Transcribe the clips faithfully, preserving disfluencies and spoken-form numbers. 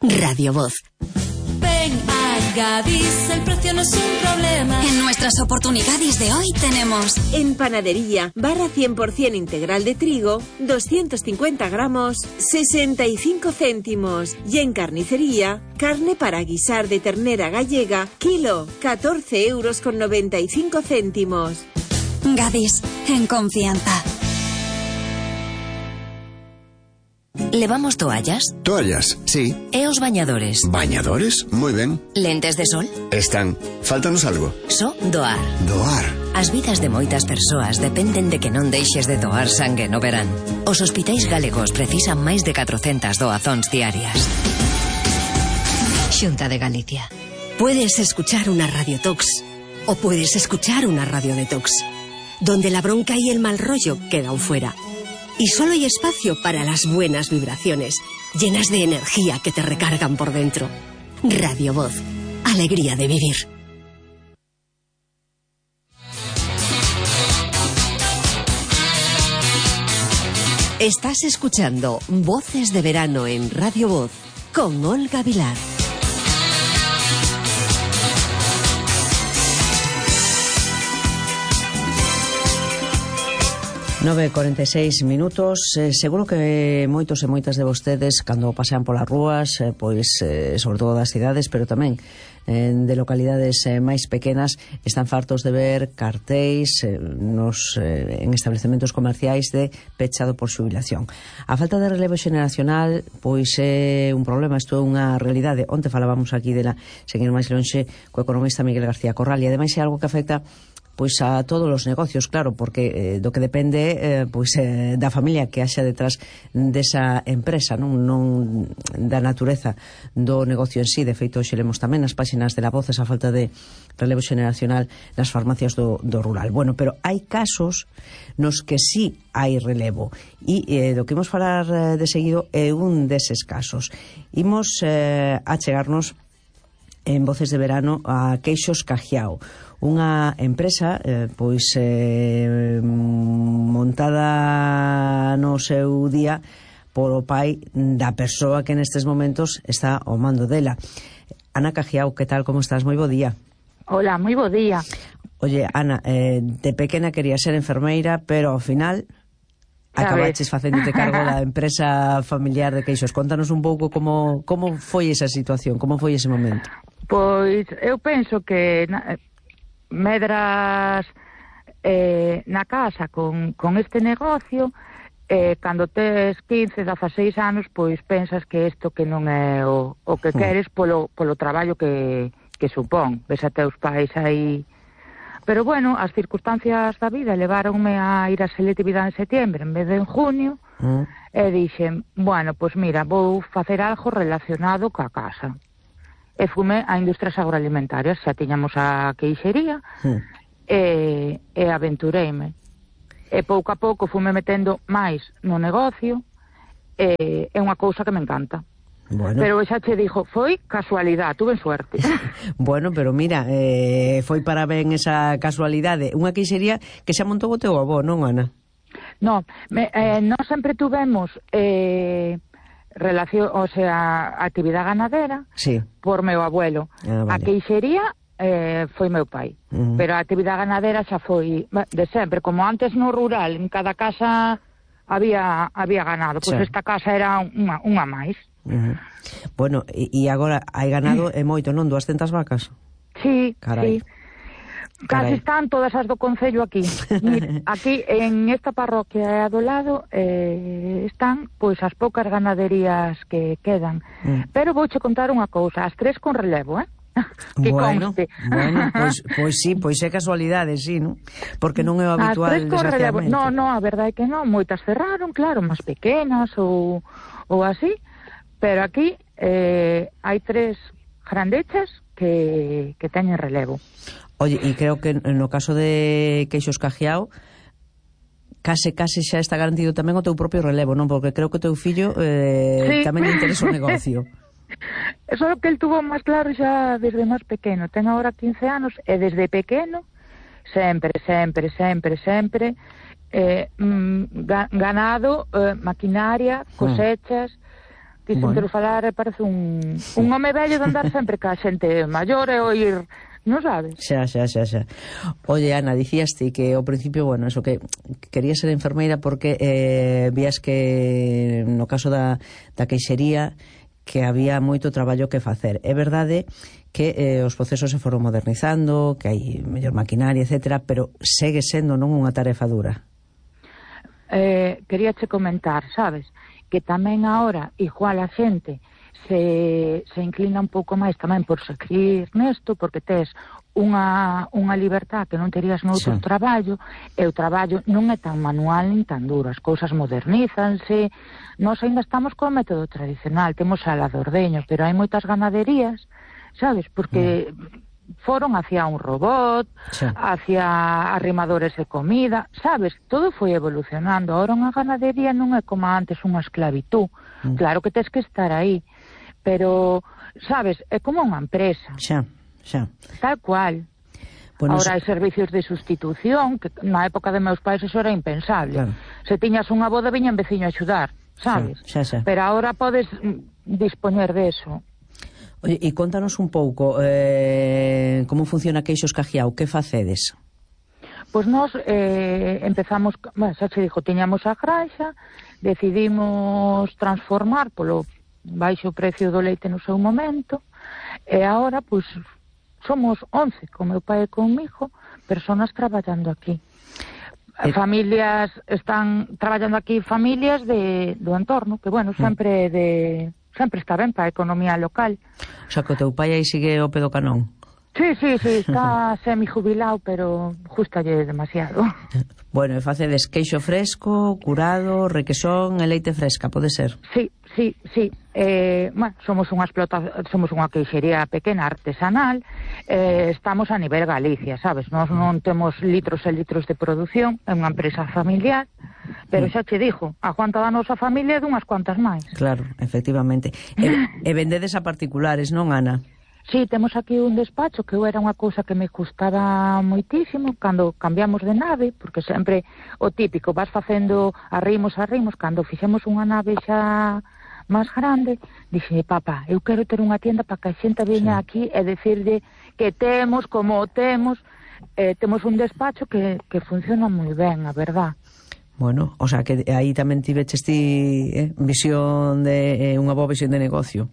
Radio Voz. Ven a Gadis, el precio no es un problema. En nuestras oportunidades de hoy tenemos: en panadería, barra cien por ciento integral de trigo, doscientos cincuenta gramos, sesenta y cinco céntimos. Y en carnicería, carne para guisar de ternera gallega, kilo, catorce euros con noventa y cinco céntimos. Gadis, en confianza. ¿Levamos toallas? Toallas, sí. E os bañadores? ¿Bañadores? Moi ben. Lentes de sol? Están. Fáltanos algo. So doar. Doar. As vidas de moitas persoas dependen de que non deixes de doar sangue no verán. Os hospitais galegos precisan máis de catrocentas doazóns diarias. Xunta de Galicia. Puedes escuchar una radiotox o puedes escuchar una radiodetox, donde la bronca y el mal rollo quedan fuera. Y solo hay espacio para las buenas vibraciones, llenas de energía que te recargan por dentro. Radio Voz. Alegría de vivir. Estás escuchando Voces de Verano en Radio Voz con Olga Vilar. nove e cuarenta e seis minutos. eh, seguro que moitos e moitas de vostedes cando pasean polas rúas, eh, pois eh, sobre todo das cidades, pero tamén eh, de localidades eh, máis pequenas, están fartos de ver cartéis eh, nos, eh, en establecementos comerciais de pechado por xubilación. A falta de relevo xeneracional pois é un problema, isto é unha realidade. Onte falábamos aquí dela, seguir máis lonxe, co economista Miguel García Corral, e ademais é algo que afecta pois a todos os negocios, claro, porque eh, do que depende eh, pois eh, da familia que haxa detrás desa empresa, non, non da natureza do negocio en sí. De feito, hoxe lemos tamén nas páxinas de La Voz esa falta de relevo xeneracional nas farmacias do, do rural. Bueno, pero hai casos nos que sí hai relevo, e eh, do que imos falar eh, de seguido é un deses casos. Imos eh, a chegarnos en Voces de Verano a Queixos Cajiao, unha empresa eh, pois eh, montada no seu día polo pai da persoa que nestes momentos está ao mando dela. Ana Cajiao, que tal, como estás? Moi bo día. Hola, moi bo día. Oye, Ana, eh, de pequena quería ser enfermeira, pero ao final acabaches facéndote cargo da empresa familiar de Queixos. Contanos un pouco como, como foi esa situación, como foi ese momento. Pois eu penso que na, medras eh, na casa con, con este negocio, eh, cando tes quince, dezaseis anos, pois pensas que isto que non é o, o que queres polo, polo traballo que, que supón. Ves a teus pais aí. Pero bueno, as circunstancias da vida leváronme a ir a selectividade en setiembre en vez de en junio, mm. e dixen, bueno, pois mira, vou facer algo relacionado ca casa. E fume a industrias agroalimentarias, xa tiñamos a queixería, mm. e, e aventureime. E pouco a pouco fume metendo máis no negocio, e é unha cousa que me encanta. Bueno. Pero xa che dixo, foi casualidade, tuve suerte. Bueno, pero mira, eh, foi para ben esa casualidade. Unha queixería que xa montou o teu avó, non, Ana? No, me, eh, non sempre tuvemos eh, relación, o sea, actividade ganadera, sí, por meu abuelo. Ah, vale. A queixería eh, foi meu pai, uh-huh. pero a actividade ganadera xa foi de sempre. Como antes no rural, en cada casa había había ganado, pois pues sí, esta casa era unha, unha máis. Uh-huh. Bueno, e, e agora hai ganado e moito, non? duascentas vacas? Sí, carai, sí. Casi están todas as do concello aquí. Mira, aquí en esta parroquia do lado eh, están pois as poucas ganaderías que quedan. Mm. Pero vouche contar unha cousa, as tres con relevo, eh? Que bueno, conste. bueno, pois, pois sí, pois é casualidade, sí, non? Porque non é o habitual, as tres con relevo. No, no, a verdade é que non, moitas cerraron, claro, máis pequenas ou, ou así, pero aquí eh, hai tres grandechas que, que teñen relevo. Oye, e creo que no caso de Queixos Cajiao case, case xa está garantido tamén o teu propio relevo, non? Porque creo que o teu fillo eh, sí, tamén lle interesa o negocio. Eso é o que el tuvo máis claro xa desde máis pequeno. Ten agora quince anos e desde pequeno sempre, sempre, sempre, sempre eh, mm, ganado, eh, maquinaria, cosechas, Quixen Bueno. ter falar e parece un, un home vello de andar sempre ca xente maior e oír, non sabes? Xa, xa, xa, xa. Oye, Ana, dicías ti que ao principio, bueno, eso que querías ser enfermeira porque eh, vías que no caso da, da queixería que había moito traballo que facer. É verdade que eh, os procesos se foron modernizando, que hai mellor maquinaria, etcétera, pero segue sendo non unha tarefa dura. Eh, quería che comentar, sabes, que tamén agora igual a xente se, se inclina un pouco máis tamén por seguir nesto, porque tes unha, unha libertad que non terías noutro Sí. traballo, e o traballo non é tan manual nin tan duro, as cousas modernízanse. Nós ainda estamos co método tradicional, temos a la de ordeño, pero hai moitas ganaderías, sabes, porque mm. foron hacia un robot, Sí. hacia arrimadores de comida, sabes, todo foi evolucionando. Ahora unha ganadería non é como antes unha esclavitú, Mm. claro que tes que estar aí, pero, sabes, é como unha empresa, Xa, xa. tal cual. Bueno, Ahora hai eso- servicios de sustitución, que na época de meus pais eso era impensable. Claro. Se tiñas unha boda, viña un veciño a axudar, sabes? Xa, xa, xa. Pero ahora podes mm, dispoñer de eso. Oye, e contanos un pouco eh, como funciona Queixos Cajiao, que facedes? Pois nós eh, empezamos, bueno, xa che dixo, tiñamos a granxa, decidimos transformar polo baixo precio do leite no seu momento, e agora, pois, somos once, con meu pai e comigo, personas traballando aquí. E- Familias, están traballando aquí familias de, do entorno, que, bueno, sempre de... sempre está ben para a economía local. O sea, que o teu pai aí sigue o pedo canón. Sí, sí, sí, está semi-jubilado, pero justalle demasiado. Bueno, e facedes queixo fresco, curado, requesón e leite fresca, pode ser? Sí, sí, sí. Eh, bueno, somos unha explota, somos unha queixería pequena artesanal, eh, estamos a nivel Galicia, sabes? Nós non temos litros e litros de produción, é unha empresa familiar, pero xa che dixo, a cuanta da nosa familia é dunhas cuantas máis. Claro, efectivamente. E, e vendedes a particulares, non, Ana? Sí, temos aquí un despacho que era unha cousa que me gustaba moitísimo cando cambiamos de nave, porque sempre o típico, vas facendo arrimos, arrimos, cando fixemos unha nave xa máis grande, dixe, papá, eu quero ter unha tienda para que a xente veña Sí. aquí e decirlle que temos, como o temos, eh, temos un despacho que, que funciona moi ben, a verdad. Bueno, o sea, que aí tamén tiveches ti eh, visión de eh, unha boa visión de negocio.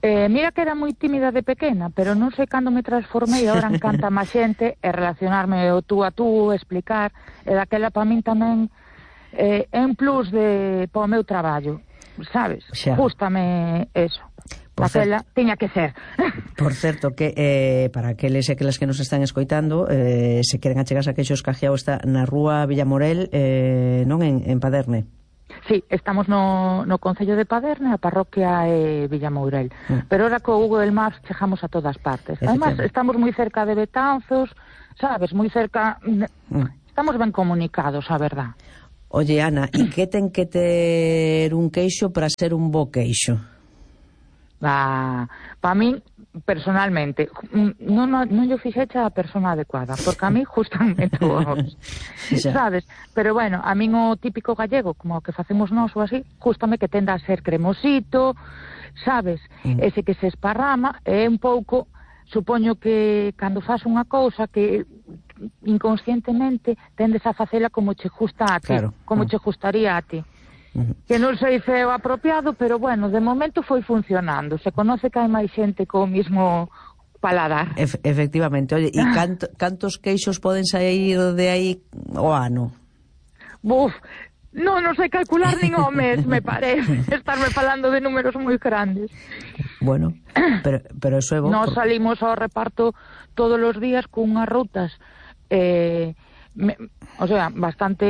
Eh, mira que era moi tímida de pequena, pero non sei cando me transformei, agora encanta máis xente e relacionarme o tú a tú, explicar, e daquela para min tamén eh, é un plus de para o meu traballo, sabes? Xa. Gústame eso. Por Daquela tiña que ser. Por certo, que eh, para aqueles e aquelas que nos están escoitando, eh, se queren achegarse a Queixos Cajiao, está na rúa Villamorel, eh, non en, en Paderne. Sí, estamos no, no Concello de Paderne, a parroquia é Villamourel. Mm. Pero ahora co Google Maps chegamos a todas partes. Además, Efectivamente. estamos moi cerca de Betanzos, sabes, moi cerca... Mm. Estamos ben comunicados, a verdad. Oye, Ana, e que ten que ter un queixo para ser un bo queixo? Para pa min, personalmente, non, non, non yo fixecha a persona adecuada, porque a mí gustan todos, Xa. sabes? Pero bueno, a min o típico gallego, como o que facemos nós ou así, gustame que tenda a ser cremosito, sabes? Mm. Ese que se esparrama, é un pouco, supoño que cando faz unha cousa que inconscientemente tendes a facela como che gusta a ti, Claro. como Ah. che gustaría a ti. Uh-huh. Que non sei se é o apropiado, pero bueno, de momento foi funcionando. Se conoce que hai máis xente co mismo paladar. Ef efectivamente. Oye, e canto, cantos queixos poden sair de aí o ano? Buf, non, non sei calcular nin o mes, me parece. Estarme falando de números moi grandes. Bueno, pero, pero eso é bo. Nos por- salimos ao reparto todos os días cunhas rutas eh, me, o sea, bastante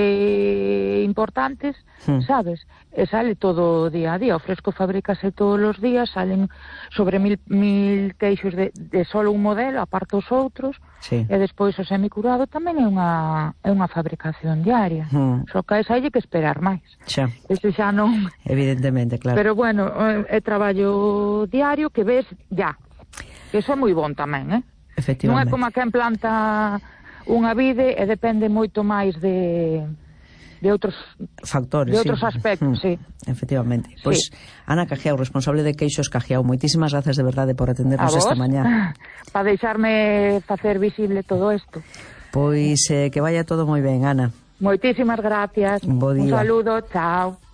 importantes, Hmm. sabes? E sale todo día a día, o fresco fabrícase todos os días, salen sobre mil, mil queixos de, de solo un modelo, aparte os outros, Sí. e despois o semicurado tamén é unha, é unha fabricación diaria. Hmm. Só que a esa hai que esperar máis. Xa, Ese xa non... evidentemente, claro. Pero bueno, é traballo diario que ves ya. Que iso é moi bon tamén, eh? Non é Efectivamente. como a quen planta unha vide e depende moito máis de de outros factores, de outros sí. aspectos, mm, sí. Efectivamente. Sí. Pois, Ana Cajiao, responsable de Queixos Cajiao, moitísimas gracias de verdade por atendernos esta mañá. Para deixarme facer visible todo isto. Pois eh, que vaya todo moi ben, Ana. Moitísimas gracias. Bo día. Un saludo, chao.